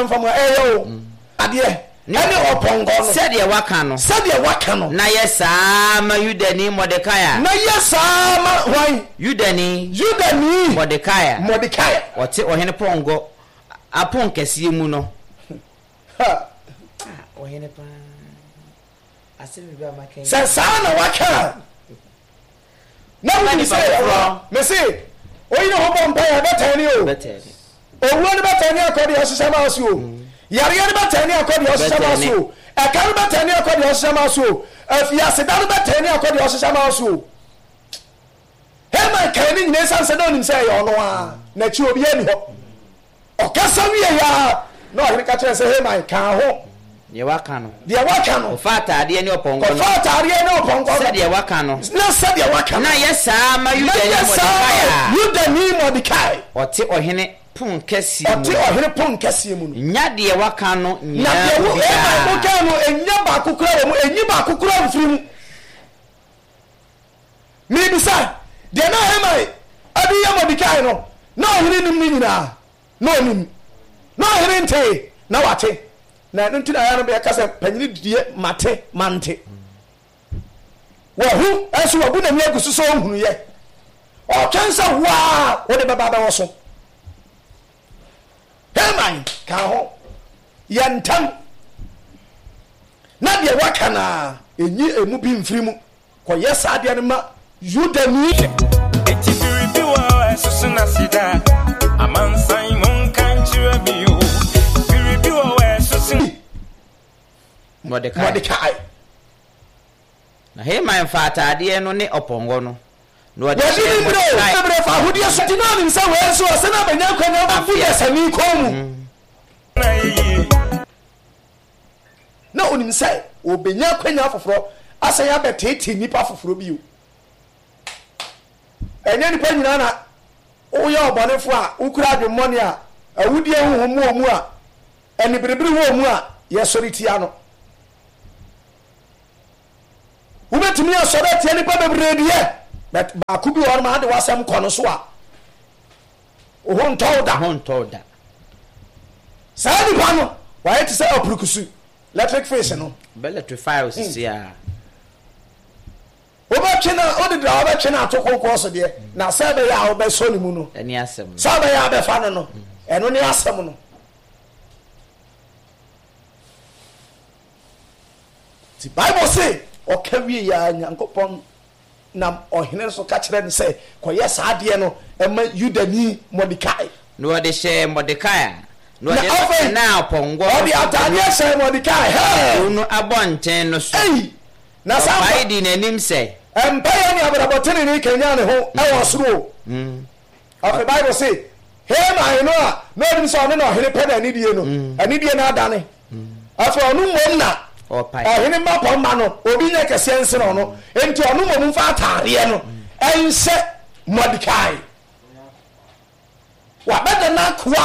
Asɛm fam a ɛyɛ o. Adeɛ ɛne ɔpɔnkɔ no. Sɛdeɛ waka no. Sɛdeɛ waka no. Na yɛ saa ara ma Yudani Mordekai a. Na yɛ saa ara ma hwan? Yudani. Yudani. Mordekai a. Mordekai a. Ɔte ɔhene pɔnkɔ aponkɛseɛ mu no. Ha. Ah, ɔhene paa. Asɛm bi ba maka yi. Sɛ saa na waka a. Na wonim sɛ ɛyɛ wo a, mese, oyi ne ho bɔ mpaeɛ a, ɛbɛtɛn ne o. Owuo no bɛtɛn ne akɔ deɛ ɔhyehyɛ maa so o. Yareɛ no bɛtɛn ne akɔ deɛ ɔhyehyɛ maa so o. Ɛka no bɛtɛn ne akɔ deɛ ɔhyehyɛ maa so o. Afiaseda no bɛtɛn ne akɔ deɛ ɔhyehyɛ maa so o. Haman kae ne nyinaa esiane sɛ na onim sɛ ɛyɛ ɔno ara, n'akyi obiara nni hɔ. Ɔkasa wiei ara na ɔhene ka kyerɛɛ no sɛ, Haman, ka ho. Deɛ woaka no. Deɛ woaka no. Kɔfa ataadeɛ ne ɔpɔnkɔ no. Kɔfa ataadeɛ ne ɔpɔnkɔ no. Sɛdeɛ woaka no. Na sɛdeɛ woaka no. Na yɛ saa ma Na Yudani yɛ saa Mordekai ma a. Yudani Mordekai. Ɔte ɔhene ponkɛseɛ mu Ɔte no. ɔhene ponkɛseɛ mu no. Nya deɛ woaka no Na nyinaa deɛ mu wo, bi Haman, daa. wokaa no, nnya baako koraa wɔ mu, nyi baako koraa mfiri mu. Merebisa, deɛ na Haman de reyɛ Mordekai no, na ɔhene nim ne nyinaa? Na ɔnim. Na ɔhene ntee, na wate. Na ɛno nti na ɛyɛ a na yɛka sɛ panyini deɛ mate, mante. Wahu, nso wabu n'ani agu so sɛ ɔnhunuiɛ. Ɔretwɛn sɛ wo ara wode bɛba abɛwɔ so. Haman ka ho, yɛ ntɛm na deɛ waka no ara, nyi emu bi mfiri mu. Kɔyɛ saa adeɛ no ma Yudani. Eti biribi wɔ hɔ a ɛsoso n'aseda. Amansan monka nkyerɛ me o. Biribi wɔ hɔ a ɛsoso. Mordekai. Mordekai. Na Haman faa ataadeɛ no ne ɔpɔnkɔ no, na ɔde Wɔde hyɛɛ ne berɛ o, Mordekai. ne berɛ fa ahodeɛ so. Nti na ɔnim sɛ wei nso ɔsɛ na bɛnya akwanya bɛbu dasani kɔn mu. Na ɛyɛ yie. Na ɔnim sɛ ɔbɛnya akwanya foforɔ asan abɛteetee nnipa foforɔ bio. Ɛnyɛ nnipa nyinaa na woyɛ ɔbɔnefoɔ a wokura adwemmɔne a awudie honhom wɔ mu a aniberebere wɔ mu a yɛsɔre tia no. Wobɛtumi asɔre atia nnipa bebree deɛ, but baako bi wɔ hɔ nom ade w'asɛm kɔ no so a, Wo ho ntɔ wo da. Wo ho ntɔ wo da. Saa nipa no, wayɛ te sɛ apurukusu, electric fish no. Bɛ electrify wo sisi a. Wobɛtwe no, wode dra wobɛtwe no ato konkɔn so deɛ, na sɛ ɛbɛyɛ a wobɛsɔ ne mu no, Ɛne asɛm no. sɛ ɛbɛyɛ a wobɛfa no no, ɛno ne asɛm no. Nti Bible se, ɔka wie yɛ a Nyankopɔn Nam ɔhene no so ka kyerɛɛ no sɛ, Kɔyɛ saa adeɛ no ma Yudani Mordekai. Na ɔde hyɛɛ Mordekai a, na Na ɔde no afei, tenaa ɔpɔnkɔ no ɔde so ataadeɛ hyɛɛ Mordekai, hɛɛ! Kurow no abɔnten no so. Ei! Na saa Ɔpae mpa. dii n'anim sɛ. Mpaeɛ ne abrabɔ tenenee kanyan ne ho wɔ ɔsoro o. Afei Bible se, Haman no a na ɔnim sɛ ɔno na ɔhene pɛ n'anidie no, anidie no adane. Afei ɔno mmom na ɔhene mmapɔmma no, obi nyɛ kɛseɛ nsene ɔno, enti ɔno mmom mfa ataadeɛ no nhyɛ Mordekai. Wabɛda n'akoa.